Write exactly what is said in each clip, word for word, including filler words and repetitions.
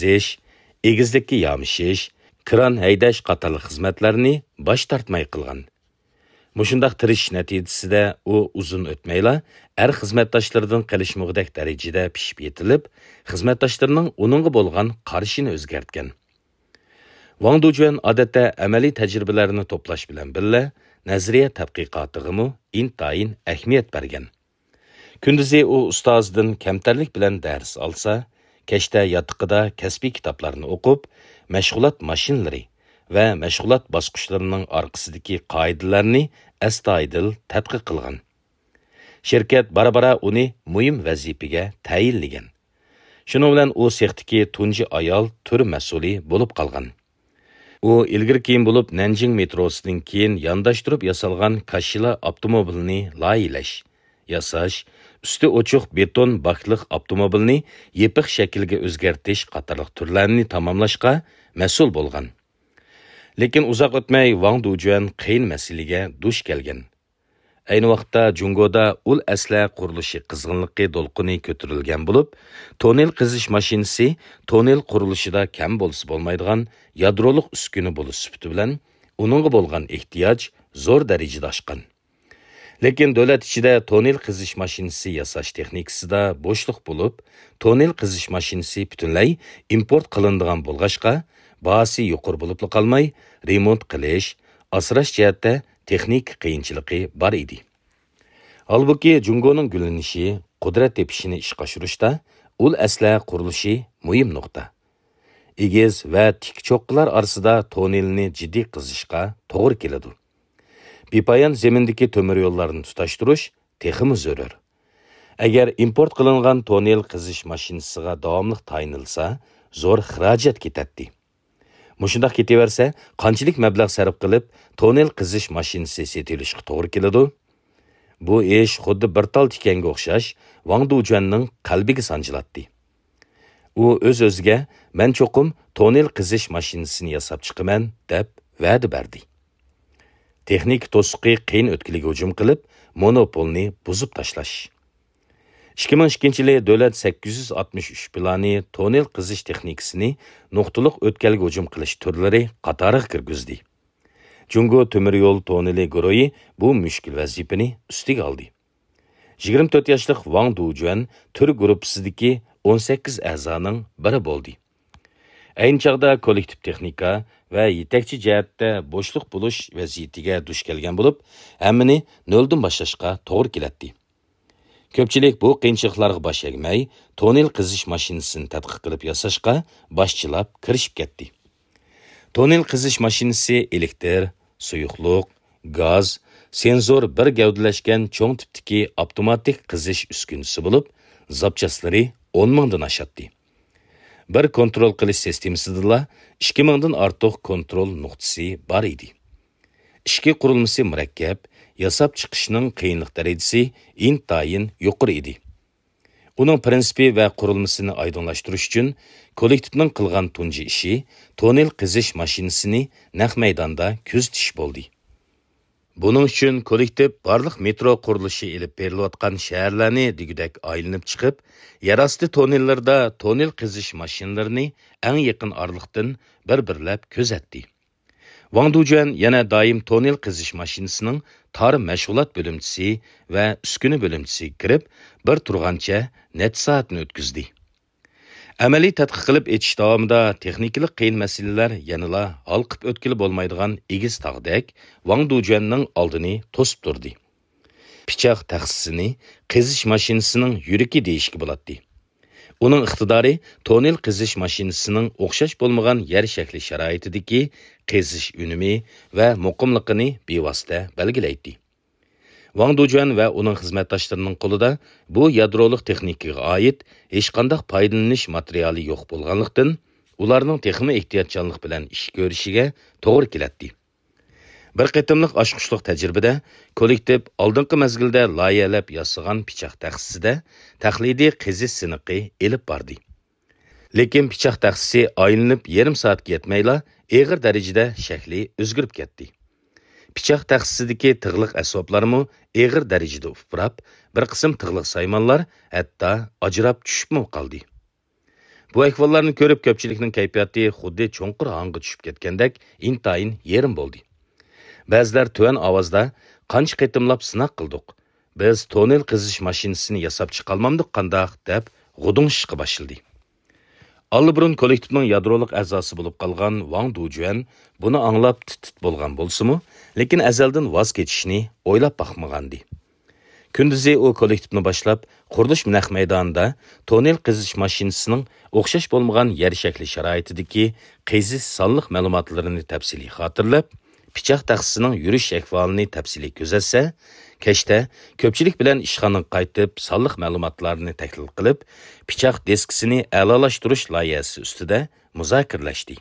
قېزىش، ئېگىزلىككە يامىشىش، كران ھەيدەش قاتارلىق خىزمەتلەرنى باش تارتماي قىلغان. مۇشۇنداق تىرىشىش نەتىجىسىدە ئۇ ئۇزۇن ئۆتمەيلا ئەر خىزمەتداشلىرىدىن قېلىشمىغۇدەك دەرىجىدە پىشىپ يېتىلىپ، خىزمەتداشلىرىنىڭ ئۇنىڭغا بولغان قارىشىنى ئۆزگەرتكەن. ۋاڭ دۇجۈەن ئادەتتە ئەمەلىي تەجرىبىلەرنى توپلاش بىلەن بىللە، نەزەرىيە تەتقىقاتىغىمۇ ئىنتايىن ئەھمىيەت بەرگەن. كۈندۈزى ئۇ ئۇستازىدىن كەمتەرلىك بىلەن دەرس ئالسا، كەچتە ياتىقىدا كەسپىي كىتابلارنى ئوقۇپ، مەشغۇلات ماشىنىلىرى ۋە مەشغۇلات باسقۇچلىرىنىڭ ئارقىسىدىكى قائىدىلەرنى ئەستايىدىل تەتقىق قىلغان. شىركەت بارا-بارا ئۇنى مۇھىم ۋەزىپىگە تەيىنلىگەن. شۇنىڭ بىلەن ئۇ سېختىكى تۇنجى ئايال تۈر مەسئۇلى بولۇپ قالغان. ئۇ ئىلگىرى-كېيىن بولۇپ نەنجىڭ مېتروسىدىن كېيىن يانداشتۇرۇپ ياسالغان كاشىلا ئاپتوموبىلىنى لايىھەلەش، ياساش، ئۈستى ئوچۇق بېتون باكلىق ئاپتوموبىلنى يېپىق شەكىلگە ئۆزگەرتىش قاتارلىق تۈرلەرنى تاماملاشقا مەسئۇل بولغان. لېكىن ئۇزاق ئۆتمەي ۋاڭ دۇجۈەن قىيىن مەسىلىگە دۇچ كەلگەن. ئەينى ۋاقىتتا جۇڭگودا ئۇل ئەسلىھە قۇرۇلۇشى قىزغىنلىقى دولقۇنى كۆتۈرۈلگەن بولۇپ، توننېل قېزىش ماشىنىسى توننېل قۇرۇلۇشىدا كەم بولسا بولمايدىغان يادرولۇق ئۈسكۈنە بولۇش سۈپىتى بىلەن ئۇنىڭغا بولغان ئېھتىياج زور دەرىجىدە ئاشقان. لېكىن دۆلەت ئىچىدە توننېل قېزىش ماشىنىسى ياساش تېخنىكىسىدا بوشلۇق بولۇپ، توننېل قېزىش ماشىنىسى پۈتۈنلەي ئىمپورت قىلىنىدىغان بولغاچقا، باھاسى يۇقىرى بولۇپلا قالماي، رېمونت قىلىش، ئاسراش جەھەتتە تېخنىكا قىيىنچىلىقى بار ئىدى. ھالبۇكى، جۇڭگونىڭ گۈللىنىشى، قۇدرەت تېپىشىنى ئىشقا ئاشۇرۇشتا ئۇل ئەسلىھە قۇرۇلۇشى مۇھىم نۇقتا. ئېگىز ۋە تىك چوققىلار ئارىسىدا توننېلنى جىددىي قېزىشقا توغرا كېلىدۇ. بىپايان زېمىندىكى تۆمۈر يوللارنى تۇتاشتۇرۇش تېخىمۇ زۆرۈر. ئەگەر ئىمپورت قىلىنغان توننېل قېزىش ماشىنىسىغا داۋاملىق تايىنىلسا، زور خىراجەت كېتەتتى. مۇشۇنداق كېتىۋەرسە، قانچىلىك مەبلەغ سەرپ قىلىپ، توننېل قېزىش ماشىنىسى سېتىۋېلىشقا توغرا كېلىدۇ؟ بۇ ئىش خۇددى بىر تال تىكەنگە ئوخشاش، ۋاڭ دۇجۈەننىڭ قەلبىگە سانجىلاتتى. ئۇ ئۆز-ئۆزىگە، «مەن چوقۇم توننېل قېزىش ماشىنىسىنى ياساپ چىقىمەن» دەپ ۋەدە بەردى. تېخنىكا توسۇقى قىيىن ئۆتكىلىگە ھۇجۇم قىلىپ، مونوپولنى بۇزۇپ تاشلاش. ئىككى مىڭ ئىككىنچى يىلى دۆلەت سەككىز يۈز ئاتمىش ئۈچ پىلانى توننېل قېزىش تېخنىكىسىنى نۇقتىلىق ئۆتكەلگە ھۇجۇم قىلىش تۈرلىرى قاتارىغا كىرگۈزدى. جۇڭگو تۆمۈر يول توننېلى گۇرۇھى بۇ مۈشكۈل ۋەزىپىنى ئۈستىگە ئالدى. يىگىرمە تۆت ياشلىق ۋاڭ دۇجۈەن تۈر گۇرۇپپىسىدىكى ئون سەككىز ئەزانىڭ بىرى بولدى. ئەينى چاغدا كوللېكتىپ تېخنىكا ۋە يېتەكچى جەھەتتە بوشلۇق بولۇش ۋەزىيىتىگە دۇچ كەلگەن بولۇپ، ھەممىنى نۆلدىن باشلاشقا توغرا كېلەتتى. كۆپچىلىك بۇ قىيىنچىلىقلارغا باش ئەگمەي، توننېل قېزىش ماشىنىسىنى تەتقىق قىلىپ ياساشقا باشچىلاپ كىرىشىپ كەتتى. توننېل قېزىش ماشىنىسى ئېلېكتىر، سۇيۇقلۇق، گاز، سېنزور بىر گەۋدىلەشكەن چوڭ تىپتىكى ئاپتوماتىك قېزىش ئۈسكۈنىسى بولۇپ، زاپچاسلىرى ئون مىڭدىن ئاشاتتى. بىر كونترول قىلىش سىستېمىسىدىلا ئىككى مىڭدىن ئارتۇق كونترول نۇقتىسى بار ئىدى. ئىچكى قۇرۇلمىسى مۇرەككەپ، ياساپ چىقىشنىڭ قىيىنلىق دەرىجىسى ئىنتايىن يۇقىرى ئىدى. ئۇنىڭ پىرىنسىپى ۋە قۇرۇلمىسىنى ئايدىڭلاشتۇرۇش ئۈچۈن كوللېكتىپنىڭ قىلغان تۇنجى ئىشى توننېل قېزىش ماشىنىسىنى نەق مەيداندا كۆزىتىش بولدى. بۇنىڭ ئۈچۈن كوللېكتىپ بارلىق مېترو قۇرۇلۇشى ئېلىپ بېرىلىۋاتقان شەھەرلەرنى دېگۈدەك ئايلىنىپ چىقىپ، يەر ئاستى توننېللىرىدا توننېل قېزىش ماشىنىلىرىنى ئەڭ يېقىن ئارىلىقتىن بىر-بىرلەپ كۆزەتتى. ۋاڭ دۇجۈەن يەنە دائىم توننېل قېزىش ماشىنىسىنىڭ تار مەشغۇلات بۆلۈمچىسى ۋە ئۈسكۈنە بۆلۈمچىسىگە كىرىپ، بىر تۇرغانچە نەچچە سائەتنى ئۆتكۈزدى. ئەمەلىي تەتقىق قىلىپ ئېچىش داۋامىدا تېخنىكىلىق قىيىن مەسىلىلەر يەنىلا ھالقىپ ئۆتكىلى بولمايدىغان ئېگىز تاغدەك ۋاڭ دۇجۈەننىڭ ئالدىنى توسۇپ تۇردى. پىچاق تەخسىسىنى قېزىش ماشىنىسىنىڭ يۈرىكى دېيىشكە بولاتتى. ئۇنىڭ ئىقتىدارى توننېل قېزىش ماشىنىسىنىڭ ئوخشاش بولمىغان يەر شەكلى شارائىتىدىكى قېزىش ئۈنۈمى ۋە مۇقىملىقىنى بىۋاسىتە بەلگىلەيتتى. ۋاڭ دۇجۈەن ۋە ئۇنىڭ خىزمەتداشلىرىنىڭ قولىدا بۇ يادرولۇق تېخنىكىغا ئائىت ھېچقانداق پايدىلىنىش ماتېرىيالى يوق بولغانلىقتىن، ئۇلارنىڭ تېخىمۇ ئېھتىياتچانلىق بىلەن ئىش كۆرۈشىگە توغرا كېلەتتى. بىر قېتىملىق ئاچقۇچلۇق تەجرىبىدە كوللېكتىپ ئالدىنقى مەزگىلدە لايىھەلەپ ياسىغان پىچاق تەخسىسىدە تەقلىدىي قېزىش سىنىقى ئېلىپ باردى. لېكىن پىچاق تەخسىسى ئايلىنىپ يېرىم سائەتكە يەتمەيلا، ئېغىر دەرىجىدە شەكلى ئۆزگىرىپ كەتتى. پىچاق تەخسىسىدىكى تىغلىق ئەسۋابلارمۇ ئېغىر دەرىجىدە ئۇپراپ، بىر قىسىم تىغلىق سايمانلار ھەتتا ئاجراپ چۈشۈپمۇ قالدى. بۇ ئەھۋاللارنى كۆرۈپ، كۆپچىلىكنىڭ كەيپىياتى خۇددى چوڭقۇر ھاڭغا چۈشۈپ كەتكەندەك ئىنتايىن يېرىم بولدى. بەزىلەر تۆۋەن ئاۋازدا، «قانچە قېتىملاپ سىناق قىلدۇق؟ بىز توننېل قېزىش ماشىنىسىنى ياساپ چىقالمامدۇق قانداق؟» دەپ غۇدۇڭشىشقا باشلىدى. ئاللىبۇرۇن كوللېكتىپنىڭ يادرولۇق ئەزاسى بولۇپ قالغان ۋاڭ دۇجۈەن بۇنى ئاڭلاپ تىت-تىت بولغان بولسىمۇ، لېكىن ئەزەلدىن ۋاز كېچىشنى ئويلاپ باقمىغانىدى. كۈندۈزى ئۇ كوللېكتىپنى باشلاپ، قۇرۇلۇش نەق مەيدانىدا توننېل قېزىش ماشىنىسىنىڭ ئوخشاش بولمىغان يەر شەكلى شارائىتىدىكى قېزىش سانلىق مەلۇماتلىرىنى تەپسىلىي خاتىرىلەپ، پىچاق تەخسىسىنىڭ يۈرۈش ئەھۋالىنى تەپسىلىي كۆزەتسە، كەچتە كۆپچىلىك بىلەن ئىشخانىغا قايتىپ، سانلىق مەلۇماتلارنى تەھلىل قىلىپ، پىچاق دىسكىسىنى ئەلالاشتۇرۇش لايىھەسى ئۈستىدە مۇزاكىرىلەشتى.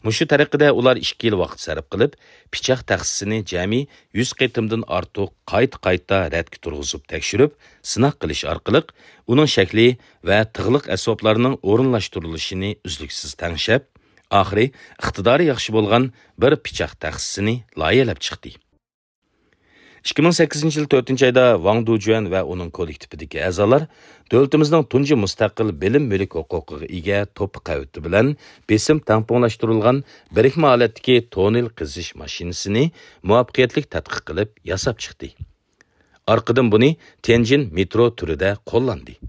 مۇشۇ تەرىقىدە ئۇلار ئىككى يىل ۋاقىت سەرپ قىلىپ، پىچاق تەخسىسىنى جەمئىي يۈز قېتىمدىن ئارتۇق قايتا-قايتا رەتكە تۇرغۇزۇپ تەكشۈرۈپ، سىناق قىلىش ئارقىلىق ئۇنىڭ شەكلى ۋە تىغلىق ئەسۋابلارنىڭ ئورۇنلاشتۇرۇلۇشىنى ئۈزلۈكسىز تەڭشەپ، ئاخىرى ئىقتىدارى ياخشى بولغان بىر پىچاق تەخسىسىنى لايىھەلەپ چىقتى. ئىككى مىڭ سەككىزىنچى يىل تۆتىنچى ئايدا ۋاڭ دۇجۈەن ۋە ئۇنىڭ كوللېكتىپىدىكى ئەزالار دۆلىتىمىزنىڭ تۇنجى مۇستەقىل بىلىم مۈلۈك ھوقۇقىغا ئىگە توپا قەۋىتى بىلەن بېسىم تەڭپۇڭلاشتۇرۇلغان بىرىكمە ھالەتتىكى توننېل قېزىش ماشىنىسىنى مۇۋەپپەقىيەتلىك تەتقىق قىلىپ ياساپ چىقتى. ئارقىدىن بۇنى تيەنجىن مېترو تۈرىدە قوللاندى.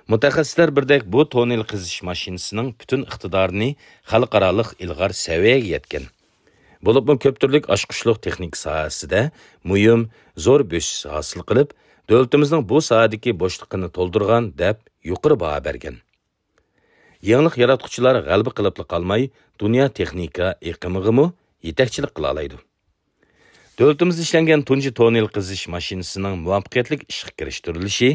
مۇتەخەسسىسلەر بىردەك بۇ توننېل قېزىش ماشىنىسىنىڭ پۈتۈن ئىقتىدارىنى خەلقئارالىق ئىلغار سەۋىيەگە يەتكەن، بولۇپمۇ كۆپ تۈرلۈك ئاچقۇچلۇق تېخنىكا ساھەسىدە مۇھىم، زور بۆسۈش ھاسىل قىلىپ، دۆلىتىمىزنىڭ بۇ ساھەدىكى بوشلۇقىنى تولدۇرغان، دەپ يۇقىرى باھا بەرگەن. يېڭىلىق ياراتقۇچىلار غەلىبە قىلىپلا قالماي، دۇنيا تېخنىكا ئېقىمىغىمۇ يېتەكچىلىك قىلالايدۇ. دۆلىتىمىزدە ئىشلەنگەن تۇنجى توننېل قېزىش ماشىنىسىنىڭ مۇۋەپپەقىيەتلىك ئىشقا كىرىشتۈرۈلۈشى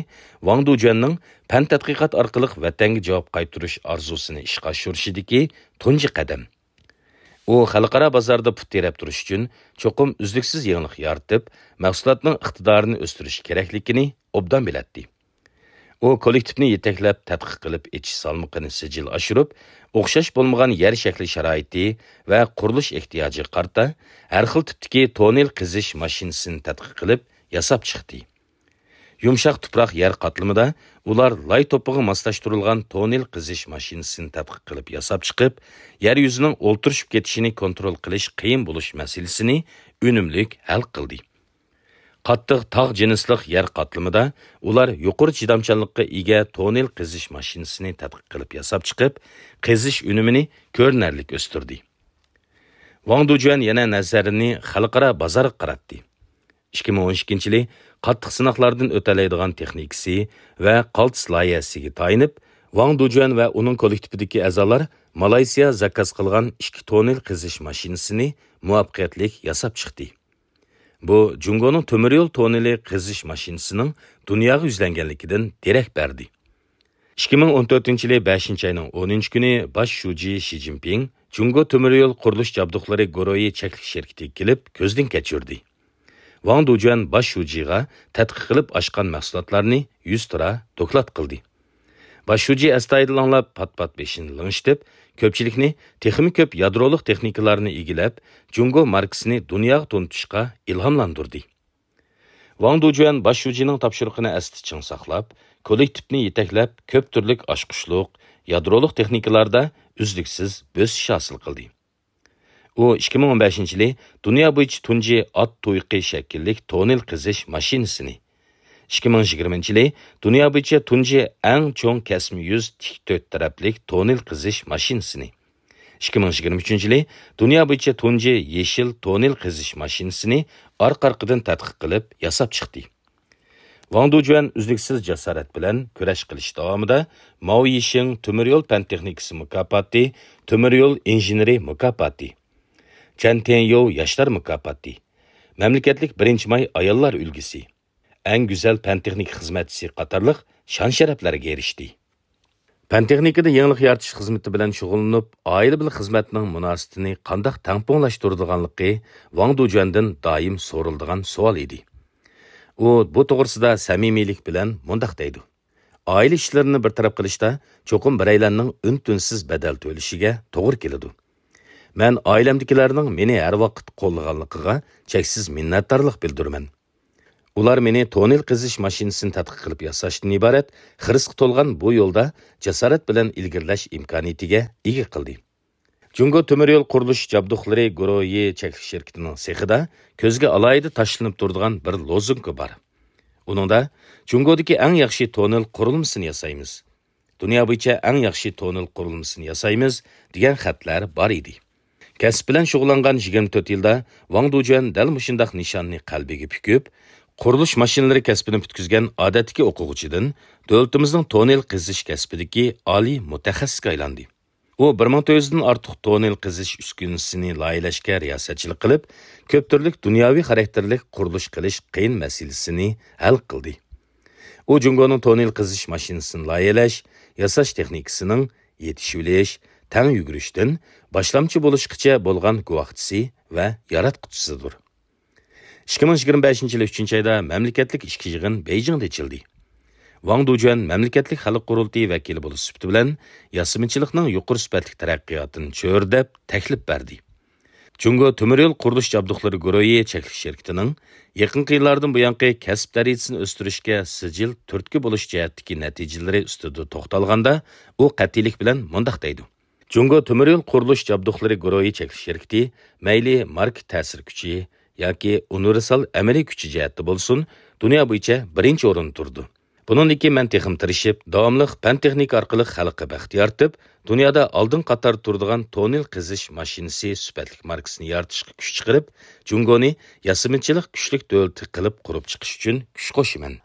ۋاڭ دۇجۈەننىڭ پەن تەتقىقات ئارقىلىق ۋەتەنگە جاۋاب قايتۇرۇش ئارزۇسىنى ئىشقا ئاشۇرۇشىدىكى تۇنجى قەدەم. ئۇ خەلقئارا بازاردا پۇت تىرەپ تۇرۇش ئۈچۈن چوقۇم ئۈزلۈكسىز يېڭىلىق يارىتىپ، مەھسۇلاتنىڭ ئىقتىدارىنى ئۆستۈرۈش كېرەكلىكىنى ئوبدان بىلەتتى. ئۇ كوللېكتىپنى يېتەكلەپ، تەتقىق قىلىپ ئېچىش سالمىقىنى سىجىل ئاشۇرۇپ، ئوخشاش بولمىغان يەر شەكلى شارائىتى ۋە قۇرۇلۇش ئېھتىياجىغا قارىتا ھەر خىل تىپتىكى توننېل قېزىش ماشىنىسىنى تەتقىق قىلىپ ياساپ چىقتى. يۇمشاق تۇپراق يەر قاتلىمىدا ئۇلار لاي توپىغا ماسلاشتۇرۇلغان توننېل قېزىش ماشىنىسىنى تەتقىق قىلىپ ياساپ چىقىپ، يەر يۈزىنىڭ ئولتۇرۇشۇپ كېتىشىنى كونترول قىلىش قىيىن بولۇش مەسىلىسىنى ئۈنۈملۈك ھەل قىلدى. قاتتىق تاغ جىنسلىق يەر قاتلىمىدا ئۇلار يۇقىرى چىدامچانلىققا ئىگە توننېل قېزىش ماشىنىسىنى تەتقىق قىلىپ ياساپ چىقىپ، قېزىش ئۈنۈمىنى كۆرۈنەرلىك ئۆستۈردى. ۋاڭ دۇجۈەن يەنە نەزەرىنى خەلقئارا بازارغا قاراتتى. ئىككى مىڭ ئون ئىككىنچى يىلى قاتتىق سىناقلاردىن ئۆتەلەيدىغان تېخنىكىسى ۋە قالتىس لايىھەسىگە تايىنىپ، ۋاڭ دۇجۈەن ۋە ئۇنىڭ كوللېكتىپىدىكى ئەزالار مالايسىيا زاكاز قىلغان ئىككى توننېل قېزىش ماشىنىسىنى مۇۋەپپەقىيەتلىك ياساپ چىقتى. بۇ جۇڭگونىڭ تۆمۈر يول توننېلى قېزىش ماشىنىسىنىڭ دۇنياغا يۈزلەنگەنلىكىدىن دېرەك بەردى. ئىككى مىڭ ئون تۆتىنچى يىلى بەشىنچى ئاينىڭ ئونىنچى كۈنى باش شۇجى شى جىنپىڭ جۇڭگو تۆمۈر يول قۇرۇلۇش جابدۇقلىرى گۇرۇھى چەكلىك شىركىتىگە كېلىپ كۆزدىن كەچۈردى. ۋاڭ دۇجۈەن باش شۇجىغا تەتقىق قىلىپ ئاچقان مەھسۇلاتلارنى يۈز تۇرا دوكلات قىلدى. باش شۇجى ئەستايىدىل ئاڭلاپ، پات-پات بېشىنى لىڭشىتىپ، كۆپچىلىكنى تېخىمۇ كۆپ يادرولۇق تېخنىكىلارنى ئىگىلەپ، جۇڭگو ماركىسىنى دۇنياغا تونۇتۇشقا ئىلھاملاندۇردى. ۋاڭ دۇجۈەن باش شۇجىنىڭ تاپشۇرۇقىنى ئەستە چىڭ ساقلاپ، كوللېكتىپنى يېتەكلەپ، كۆپ تۈرلۈك ئاچقۇچلۇق، يادرولۇق تېخنىكىلاردا ئۈزلۈكسىز بۆسۈش ھاسىل قىلدى. ئۇ ئىككى مىڭ ئون بەشىنچى يىلى دۇنيا بويىچە تۇنجى ئات تۇيىقى شەكىللىك توننېل قېزىش ماشىنىسىنى، ئىككى مىڭ يىگىرمىنچى يىلى دۇنيا بويىچە تۇنجى ئەڭ چوڭ كەسمە يۈز تىك تۆت تەرەپلىك توننېل قېزىش ماشىنىسىنى، ئىككى مىڭ يىگىرمە ئۈچىنچى يىلى دۇنيا بويىچە تۇنجى يېشىل توننېل قېزىش ماشىنىسىنى ئارقا-ئارقىدىن تەتقىق قىلىپ ياساپ چىقتى. ۋاڭ دۇجۈەن ئۈزلۈكسىز جاسارەت بىلەن كۈرەش قىلىش داۋامىدا ماۋ يىشىڭ تۆمۈر يول پەن تېخنىكىسى مۇكاپاتى، تۆمۈر يول ئىنژېنېرى مۇكاپاتى، چەن تيەنيوۋ ياشلار مۇكاپاتى، مەملىكەتلىك بىرىنچى ماي ئاياللار ئۈلگىسى، ئەڭ گۈزەل پەن تېخنىكا خىزمەتچىسى قاتارلىق شان-شەرەپلەرگە ئېرىشتى. پەن تېخنىكىدا يېڭىلىق يارىتىش خىزمىتى بىلەن شۇغۇللىنىپ، ئائىلە بىلەن خىزمەتنىڭ مۇناسىۋىتىنى قانداق تەڭپۇڭلاشتۇرىدىغانلىقى ۋاڭ دۇجۈەندىن دائىم سورىلىدىغان سوئال ئىدى. ئۇ بۇ توغرىسىدا سەمىمىيلىك بىلەن مۇنداق دەيدۇ: «ئائىلە ئىشلىرىنى بىر تەرەپ قىلىشتا چوقۇم بىرەيلەننىڭ ئۈن-تىنسىز بەدەل تۆلىشىگە توغرا كېلىدۇ. مەن ئائىلەمدىكىلەرنىڭ مېنى ھەر ۋاقىت قوللىغانلىقىغا چەكسىز مىننەتدارلىق بىلدۈرىمەن.» ئۇلار مېنى توننېل قېزىش ماشىنىسىنى تەتقىق قىلىپ ياساشتىن ئىبارەت خىرىسقا تولغان بۇ يولدا جاسارەت بىلەن ئىلگىرىلەش ئىمكانىيىتىگە ئىگە قىلدى. جۇڭگو تۆمۈر يول قۇرۇلۇش جابدۇقلىرى گۇرۇھى چەكلىك شىركىتىنىڭ سېخىدا كۆزگە ئالاھىدە تاشلىنىپ تۇرىدىغان بىر لوزۇنكا بار. ئۇنىڭدا، «جۇڭگودىكى ئەڭ ياخشى توننېل قۇرۇلمىسىنى ياسايمىز. دۇنيا بويىچە ئەڭ ياخشى توننېل قۇرۇلمىسىنى ياسايمىز» دېگەن خەتلەر بار ئىدى. كەسىپ بىلەن شۇغۇللانغان يىگىرمە تۆت يىلدا ۋاڭ دۇجۈەن دەل مۇشۇنداق نىشاننى قەلبىگە پۈكۈپ، قۇرۇلۇش ماشىنىلىرى كەسپىنى پۈتكۈزگەن ئادەتتىكى ئوقۇغۇچىدىن دۆلىتىمىزنىڭ توننېل قېزىش كەسپىدىكى ئالىي مۇتەخەسسىسكە ئايلاندى. ئۇ بىر مىڭ تۆت يۈزدىن ئارتۇق توننېل قېزىش ئۈسكۈنىسىنى لايىھەلەشكە رىياسەتچىلىك قىلىپ، كۆپ تۈرلۈك دۇنياۋى خاراكتېرلىك قۇرۇلۇش قىلىش قىيىن مەسىلىسىنى ھەل قىلدى. ئۇ جۇڭگونىڭ توننېل قېزىش ماشىنىسىنى لايىھەلەش، ياساش تېخنىكىسىنىڭ يېتىشىۋېلىش، تەڭ يۈگۈرۈشتىن باشلامچى بولۇشقىچە بولغان گۇۋاھچىسى ۋە ياراتقۇچىسىدۇر. ئىككى مىڭ يىگىرمە بەشىنچى يىلى ئۈچىنچى ئايدا مەملىكەتلىك ئىككى يىغىن بېيجىڭدا ئېچىلدى. ۋاڭ دۇجۈەن مەملىكەتلىك خەلق قۇرۇلتىيى ۋەكىلى بولۇش سۈپىتى بىلەن ياسىمىچىلىقنىڭ يۇقىرى سۈپەتلىك تەرەققىياتىنى چۆرىدەپ تەكلىپ بەردى. جۇڭگو تۆمۈر يول قۇرۇلۇش جابدۇقلىرى گۇرۇھى چەكلىك شىركىتىنىڭ يېقىنقى يىللاردىن بۇيانقى كەسىپ دەرىجىسىنى ئۆستۈرۈشكە سىجىل تۈرتكە بولۇش جەھەتتىكى نەتىجىلىرى ئۈستىدە توختالغاندا، ئۇ قەتئىيلىك بىلەن مۇنداق دەيدۇ: «جۇڭگو تۆمۈر يول قۇرۇلۇش جابدۇقلىرى گۇرۇھى چەكلىك شىركىتى مەيلى ماركا تەسىر كۈچى ياكى ئۇنىۋېرسال ئەمەلىي كۈچى جەھەتتە بولسۇن، دۇنيا بويىچە بىرىنچى ئورۇندا تۇرىدۇ. بۇنىڭدىن كېيىن مەن تېخىمۇ تىرىشىپ، داۋاملىق پەن-تېخنىكا ئارقىلىق خەلققە بەخت يارىتىپ، دۇنيادا ئالدىنقى قاتاردا تۇرىدىغان توننېل قېزىش ماشىنىسى سۈپەتلىك ماركىسىنى يارىتىشقا كۈچ چىقىرىپ، جۇڭگونى ياسىمىچىلىق كۈچلۈك دۆلىتى قىلىپ قۇرۇپ چىقىش ئۈچۈن كۈچ قوشىمەن.»